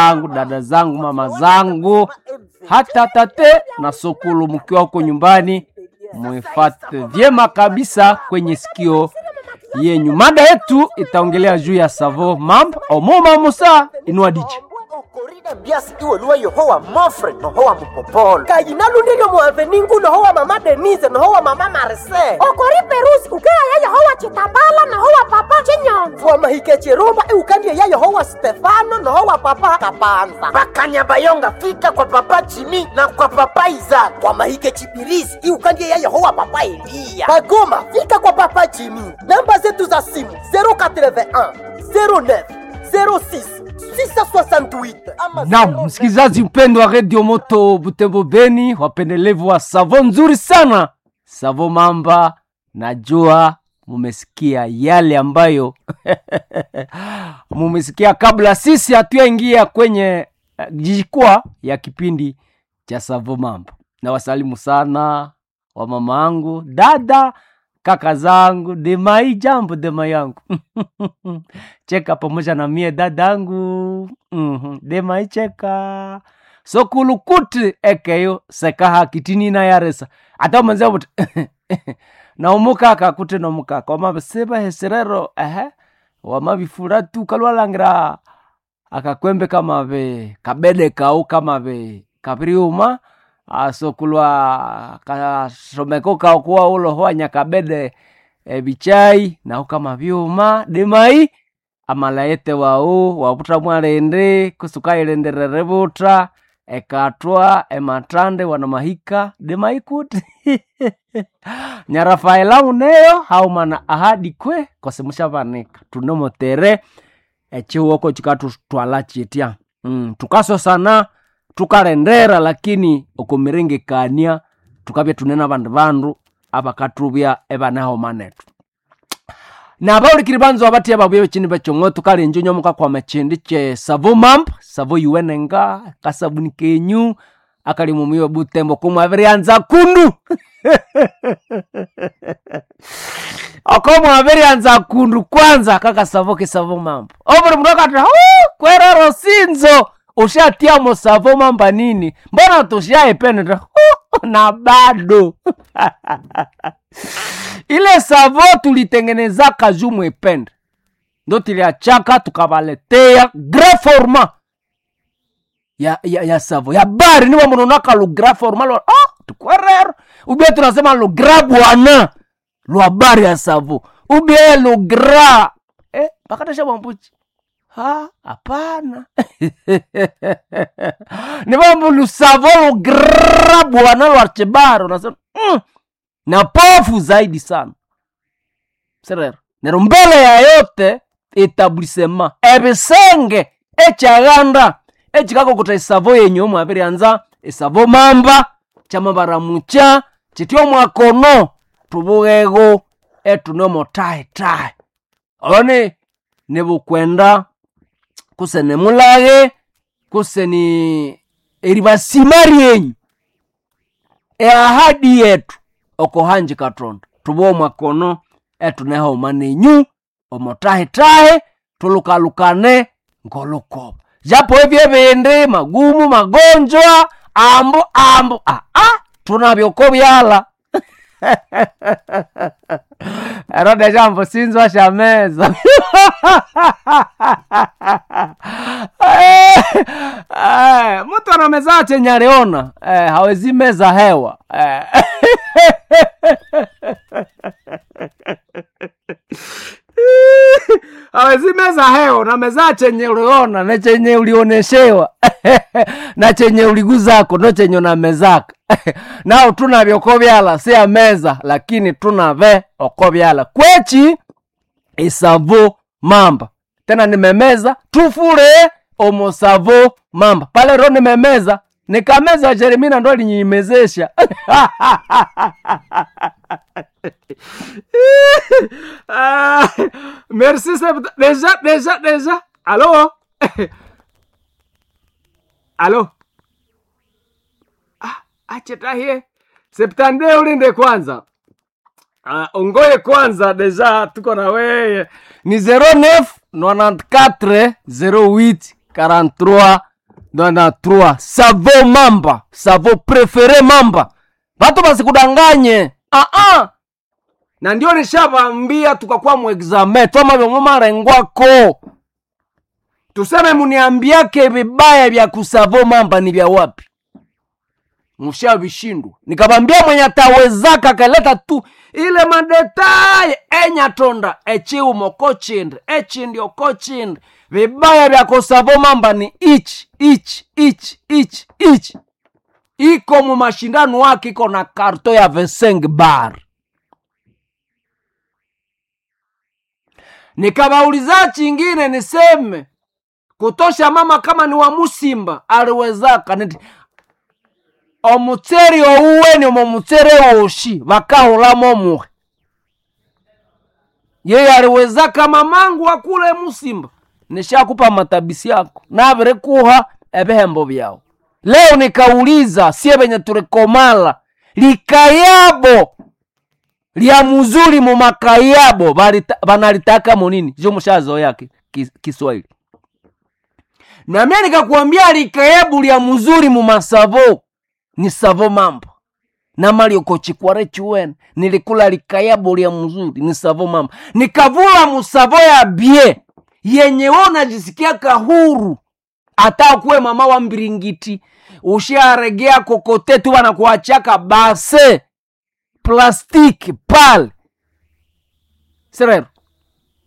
zangu, dada zangu, mama zangu, hata tate na sokulu, mkiwa huko nyumbani muifate vyema kabisa kwenye sikio yenyu. Mada yetu itaongelea juu ya savo mambo omoma musa inua diche okorida mbiasi iweluwa yohowa mofre nohowa mupopolo kayinalundilyo muaveningu nohowa mama Denise nohowa mama Marcel okori perusi ukeaya yehowa chitambala nohowa papa chinyonzo wamahike chirumba iukandie ya yehowa Stefano nohowa papa Kapanza bakanyabayonga fika kwa papa Jimi na kwa papa Izaka wamahike chibirisi iukandie ya yehowa papa Eliya Bagoma fika kwa papa Jimi. Namba zetu za simu 081 09 06 668 ama Naam, msikilizaji mpendwa wa Radio Moto Butembo Beni, wapendelevu wa savo nzuri sana, savo mamba, najua mumesikia yale ambayo mumesikia kabla sisi hatuyaingia kwenye jukwaa ya kipindi cha savo mamba. Na wasalimu sana wa mama angu, dada, kaka zangu, demai jambo dema yangu cheka pamoja na mie dadangu mm-hmm. Demai cheka sokulukuti ekeyo sekaha kitini na yaresa ata manze buti na umukaka kuti nomukaka wamabisiba hesirero ehe wamabifura tu kalwalangira akakwembe kamabe kabede kau kamabe kapiriuma asokulwa kasomeko kao kuwa ulohoa nyakabede ebichai naho kama byuma demai amalayete wau wabuta mwalende kusuka ilenderere buta ekatwa ematande wana mahika demai kuti nyarafaela uneyo haumana ahadi kwe kosemushabanika tunomotere echiwoko chikatutwala chitya tukasosana tukalendera lakini okumiringikania tukabya tunene abandu bandu abakathubya ebanahomanetu nabaulikiri banzo abatya babuya bechini bechongo tukalenja nyomuka kwama chindi che savo mamp savo yuwenenga kasabuni kenyu akali mumiwe butembo kumwavirianza kundu oko mwavirianza kundu kwanza kakasavo kisavo mambo obuli mundu akati kwerero sinzo ushatiamo savo mamba nini mbona tushaipenda na bado ile savo tulitengenezaka juu mwipende ndo tuliachaka tukavaletea grand format ya savo ya bari niwo munonaka lu grand format lwa tukwerero ubie tunasema lu grand bwana lwa bari ya savo ubie lu grand pakatasha bwambuchi ha hapana nivambu lusavo lu grand bwana lwa chibaro nasema na pofu zaidi sana serero nero mbele ya yote etablissement ebisenge ekyaganda ekikakokuta esavo yenyu mwabirianza esavo mamba kyamabaramucha kityo mwakono tubughego etunomo tahe tahe oloni nibukwenda kuse nimulaghe kuse ni eribasima ryenyu eahadi yetu okohanji katonda tubuwe mwakono etunehoma nenyu omotahetahe tulukalukane ngolukoba japo ebyo ebindi magumu magonjwa ambu ambu aa tunabyoko byala erode jambo sinzwa sha meza mtu anameza chenye aliona hawezi meza hewa Hawezi meza hewa na meza chenye uliona na chenye ulioneshewa na chenye uliguzako no chenye unamezaka nao tunavyoko byala si ya meza lakini tunave oko byala kwechi isavo mamba tena nimemeza tufure omosavo mamba pale ro nimemeza nikameza Jeremina ndo alinyimezesha Ah, merci deja deja deja alo alo ah, achetahie septande ulinde kwanza. Ongoye kwanza deja tuko na weye ni 09 94 08 43 93 savo mamba, savo prefere mamba. Watu basikudanganye. Ah ah. Na ndio nishavambia tukakuwa mu examen twama vyomumarengwako. Tuseme muniambiake vibaya vya kusavo mamba ni vya wapi? Mshavishindwa. Nikabambia mwenye atawezaka akaleta tu ile madetaye enyatonda echiumo kochindi echindi okochindi vibaya vya kusavo mamba ni ichi ichi ichi ichi ichi iko mu mashindano wake iko na karto ya 25 bar. Nikabauliza chingine niseme kutosha mama kama ni wa musimba aliwezaka niti omutseri ouweni omo mutsere woshi vakahulamo muhe yeye aliwezaka mamangu akule musimba nishakupa matabisi yako navirikuha ebihembo vyao. Leo nikauliza sie venye tulikomala likayabo lya muzuri mumakayabo vanalitaka munini jo mushazoea Kiswahili na mimi nikakwambia likayabu lya muzuri mumasavo ni savo mambo na mali ukochikware chuwen nilikula likayabu lya muzuri ni savo mambo nikavula musavo ya bie yenye wewe unajisikia kahuru hata kuwe mama wa mbiringiti usharegea kokote tu wanakuachaka base plastiki pale serero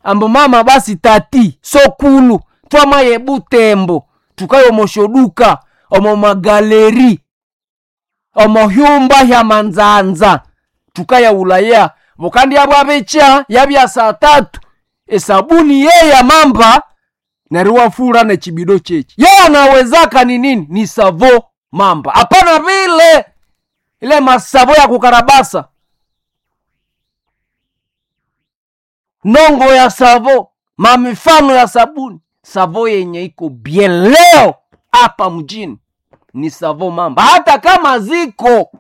ambo mama basi tati sokulu twamaye butembo tukayo moshoduka omo magaleri omo hyumba hya manzanza tukaya ulaya bukandi yabwabecha yabya saa tatu esabuni yeya mamba neriwafura nechibido chechi yeye anawezaka ni nini ni savo mamba hapana vile ile masavo ya kukarabasa nongo ya savo mamifano ya sabuni savo yenye iko bien leo hapa mjini ni savo mamba hata kama ziko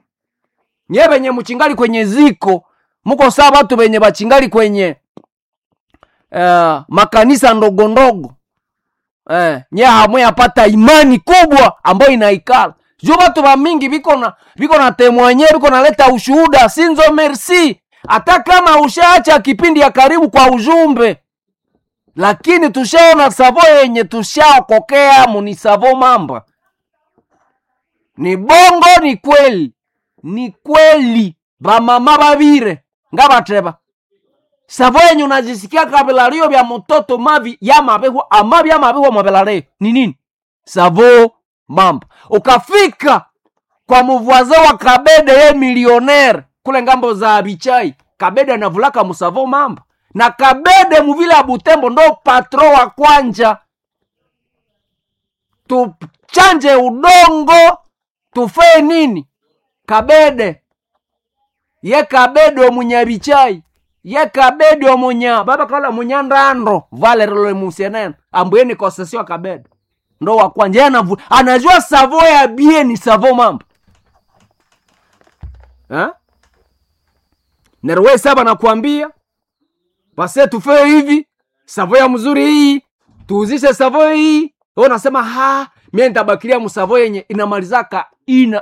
nye benye muchingali kwenye ziko muko saa batu benye bachingali kwenye makanisa ndogo ndogo nye hamwe yapata imani kubwa ambayo inaikala juu batu ba mingi biko na temwanye biko naleta ushuhuda sinzo merci hata kama ushaacha kipindi ya karibu kwa ujumbe lakini tushaona savo yenye tushaokokea muni savo mamba ni bongo ni kweli ni kweli bamama babire ngabateba savo yenye unajisikia kabilario vya mtoto mavi ya mabehwa amavi ya mabehwa mabilario ni nini savo mamba ukafika kwa muvwaze wa kabede ye milionaire kule ngambo za bichai kabede anavulaka musavo mamba na kabede muvile ya butembo ndo patro wa kwanja tuchanje udongo tufee nini kabede ye kabede omunyabichai ye kabede omunya baba kala munyandando valerelo musienene ambweni kosesio kabede ndo wa kwanja ye anajua savo ya bie ni savo mambo ha? Nerwe saba nakwambia base tufee hivi savo ya mzuri hii tuuzishe savo hii wewe unasema ha mie nitabakilia msavo yenye inamalizaka ina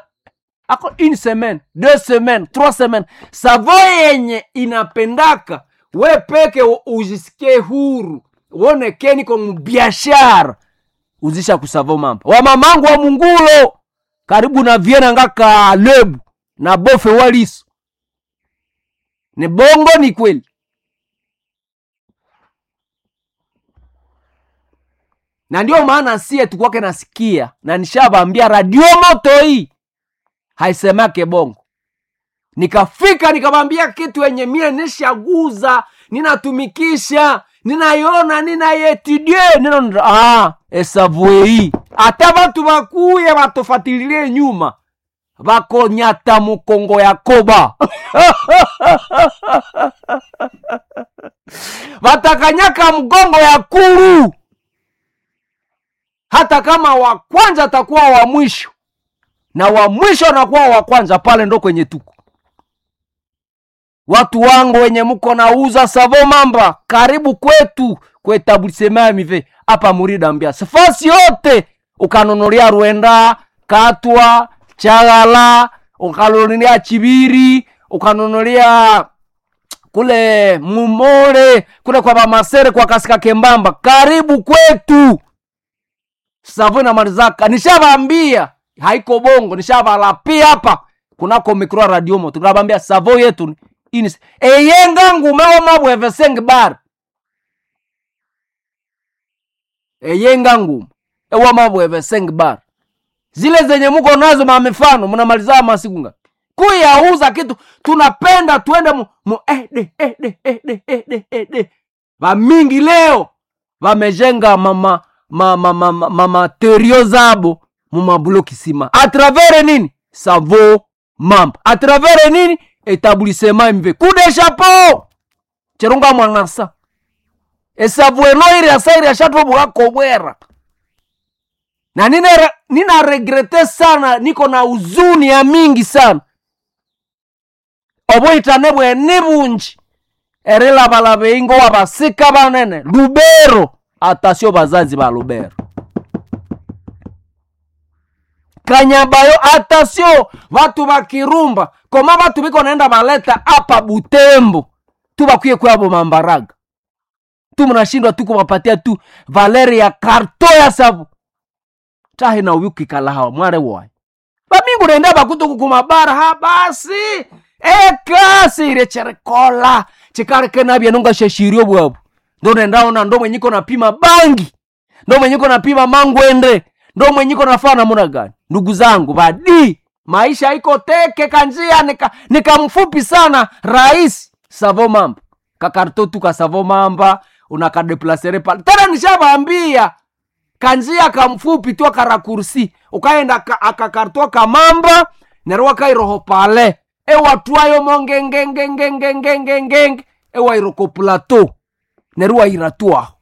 ako une semaine deux semaines trois semaines savo yenye inapendaka we peke ujisikie huru uone keni kwa biashara uzisha kusavo mambo wa mamangu wa mungulo karibu na viena ngaka lebu na bofe waliso ni bongo ni kweli na ndio maana sie tukwake nasikia na nishabambia radio moto hii haisemake bongo nikafika nikabambia kitu yenye mie nishaguza ninatumikisha ninaiona ninaietudie nina esavue hii hata batu bakuye batofatililie nyuma bakonyata mukongo yakoba batakanyaka mgongo ya kuru hata kama wa kwanza atakuwa wa mwisho na wa mwisho anakuwa wa kwanza pale ndo kwenye tuko watu wangu wenye muko nauza savo mamba karibu kwetu kwetablisema mive hapa murida mbia sifasi yote Ukanonoria Rwenda, Katwa, Chagala, ukanonoria Chibiri, ukanonoria kule Mumole, kule kwa Bamasere, kwa Kasika Kembamba, karibu kwetu. Savo inamalizaka, nishabambia haiko bongo, nishabalapia hapa kunako mikro radio mo, tunabambia savo yetu ini eyenga ngume omabweve sengbar eyenga ngume ewamabweve sengbar zile zenye muko nazo mamifano mnamaliza masiku ngapi kuyauza kitu tunapenda tuende mu, mu ede ede ede ede ede vamingi leo vamejenga mama mama mama mama terio zabo mumabuloki sima atravere nini savo mamba atravere nini etablissement mv kude chapeau cherunga mwanasa esavu eno iri asa iri ashatwa bwakobwera na nina regrete sana, niko na huzuni ya mingi sana obuhitane bwene bunji erilabalaba eingo wabasika banene Lubero atasio bazazi ba Lubero Kanyabayo atasio batu bakirumba koma batu biko naenda baleta apa Butembo tu bakwiye kwabo mambaraga tu mnashindwa tu kuwapatia tu valeri ya karto ya sabu tahe na uyu kikala hawa mware wayi bamingu nenda bakutuku kumabara ha basi ekasi ile cherekola chikareke nabye nunga sheshirio bwabu ndo nendaona ndo mwenyiko napima bangi ndo mwenyiko napima mangwende ndo mwenyiko nafaa namuna gani ndugu zangu badi maisha iko teke kanjia nika, nikamfupi sana rahisi savo mamba kakarto tu kasavo mamba unakadeplasere pale tena nishabaambia kanjia kamfupi tu akarakursi ukaenda akakartwa kamamba nerwa kairoho pale ewatwayo mongengengengengengengenge ewairoko plateau nerwa iratwaho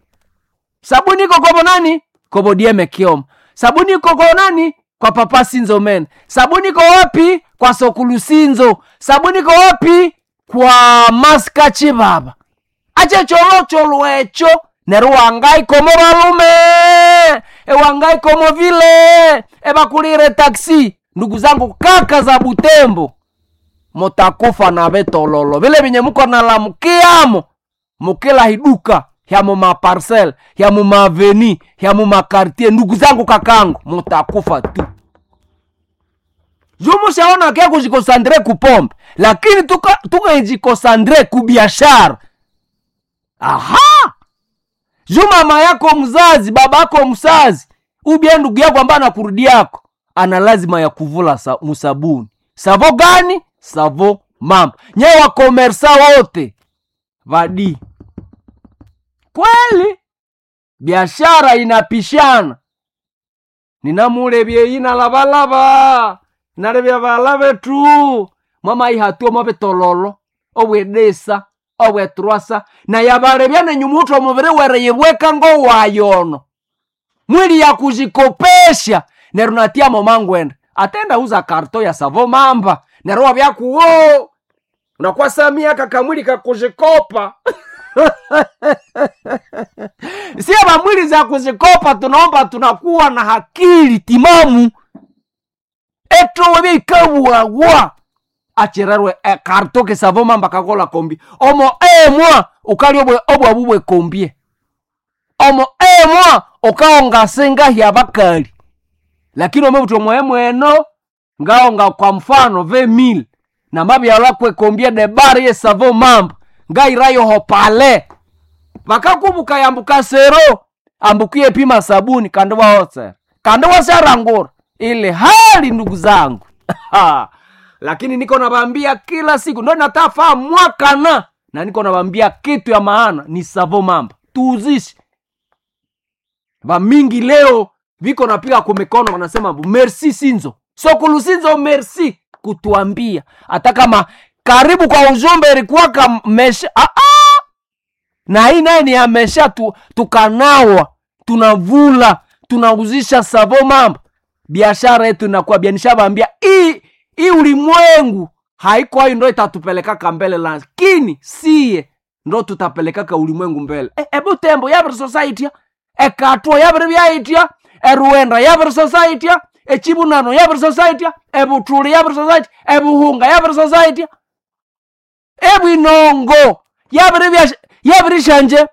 sabuni iko kobo nani kobo dieme kioma sabuni iko kwa nani kwa papa sinzo men sabuni iko wapi kwa sokulu sinzo sabuni iko wapi kwa maska chibaba ache cholocholo echo neru wangai komo balume ewangai komo vile ebakulire taksi ndugu zangu kaka za Butembo mutakufa na betololo vile vinye muko nalamukiamo mukila hiduka ya mu maparcel ya mu maaveni ya mu makartier ndugu zangu kakangu mutakufa tu jumushaona ke kujikosandre kupombe lakini tukejikosandre kubiashara aha juu mama yako mzazi baba yako mzazi ubie ndugu yako ambaye anakurudi yako ana lazima ya kuvula musabuni savo gani savo mama nyewe wakomersa wote vadi kweli biashara inapishana ninamulebye inalabalaba nalebya bala betu mwama ihatua mwabetololo obwedesa obwetrwasa na yabalebya nenyumutu omubiri wereyibweka ngowayono mwili ya kuzikopesha neru natia mangwenda atenda uza karto ya savo mamba neru wabyakuwo unakuwa samia kakamwili kakuzikopa sie mamwili za kuzikopa tunaomba tunakuwa na hakili timamu etowe bikabwawa achererwe ekarto kesavo mamba kakola kombi omo emwa ukali obwabu bwekombie omo emwa ukaonga senga hya bakali lakini omebuti omwe mweno ngaonga kwa mfano ve mil na mabyala kwekombie debari ye savo mamba ngairayo hopale vakakubuka yambuka sero ambukie pima sabuni kandi waotsera kandi washarangura ile hali ndugu zangu lakini niko nabambia kila siku ndo natafaa mwakana na niko nabambia kitu ya maana ni savo mamba tuuzishe vamingi leo viko napiga kumikono wanasema merci sinzo sokulu sinzo merci kutuambia hata kama karibu kwa ujumbe ilikuwa kamesha ah, ah! na hii naye ni amesha tu, tukanawa tunavula tunauzisha savo mamba biashara yetu inakuwa bia nishabaambia hii hii ulimwengu haiko hayo ndo itatupelekaka mbele lakini siye ndo tutapelekaka ulimwengu mbele ebu tembo yabiri society ekatwa yabiri byaitya Eruwenda yabirisosaitia, Echibunano yabirisosaitia, Ebuthuli yabirisosaitia, Ebuhunga yabirisosaitia, Ebwinongo yabirishanje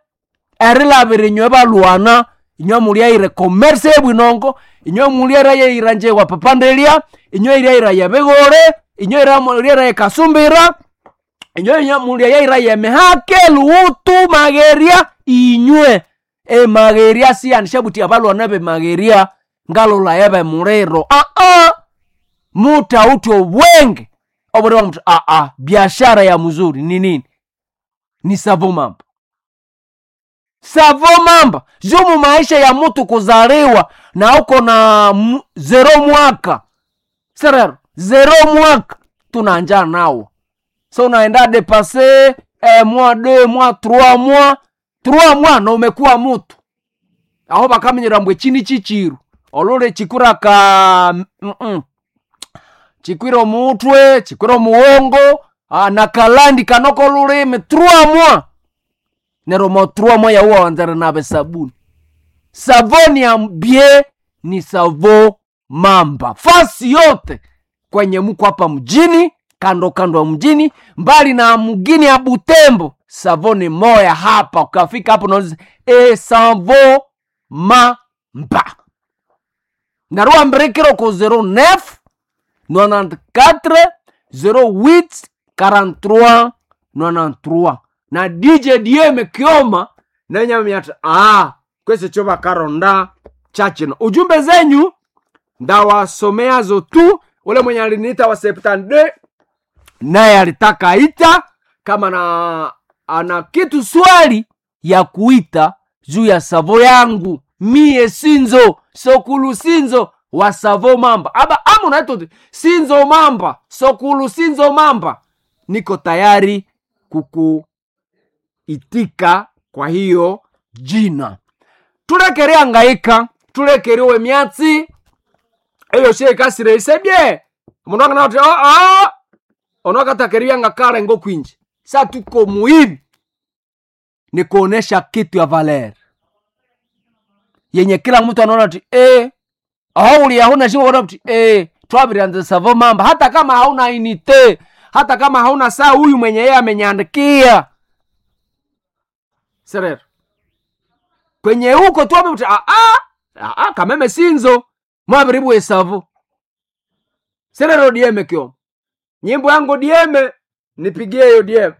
erilabira inywe balwana, inywe mulyaire commerce ebwinongo, inywe mulyaira yeiranje wa papandelia, inywe ilyaira yebigore, inywe mulyaira yekasumbira, inywe mulyaira yemihake luhutu mageria, inywe emageria siyanishabuti abalwana bemageria ngalola yebe muliro aa mutauti obwenge obuli mtu aa biashara ya mzuri ni nini? Ni savo mamba. Savo mamba jumu maisha ya mtu kuzaliwa na uko na zero mwaka serero zero mwaka tunanja nawo, so unaenda depase mois deux mois trois mois trois mois na umekuwa mutu aho bakamenyera mbwe chini chichiru olule chikura ka chikwira omutwe chikwira omuwongo na kalandi kanoko lulimi trois mois nero mo trois mois yauwa wanzara nabe sabuni savoni ya bie ni savo mamba fasi yote kwenye muko hapa mjini kando kando ya mjini mbali na mgini ya Butembo savoni moya hapa ukafika hapo unauliza e savo mamba narua mbirikiro ku 09 94 08 43 93 na DJ DM Kioma nenyamiata kwese cho bakaronda chachino ujumbe zenyu ndawasomeazo tu. Ule mwenye aliniita wa septande naye alitaka ita kama na ana kitu swali ya kuita juu ya savo yangu mie sinzo sokulu sinzo wa savo mamba aba ama unaitwa sinzo mamba sokulu sinzo mamba, niko tayari kukuitika kwa hiyo jina. Tulekere angaika tulekerewe myatsi eyo shekasire isebye mundu anganati aa onakatakeriya ngakale ngokwinji sa tuko muhimu ni kuonesha kitu ya valer yenye kila mtu anaona ti aho hauna shingo ti twabirianze savo mamba hata kama hauna inite hata kama hauna saa huyu mwenye yeye amenyandikia serero kwenye huko twabiri kameme sinzo mwabiribu esavo serero dieme kyo nyimbo yangu dieme nipigie hiyo dieme.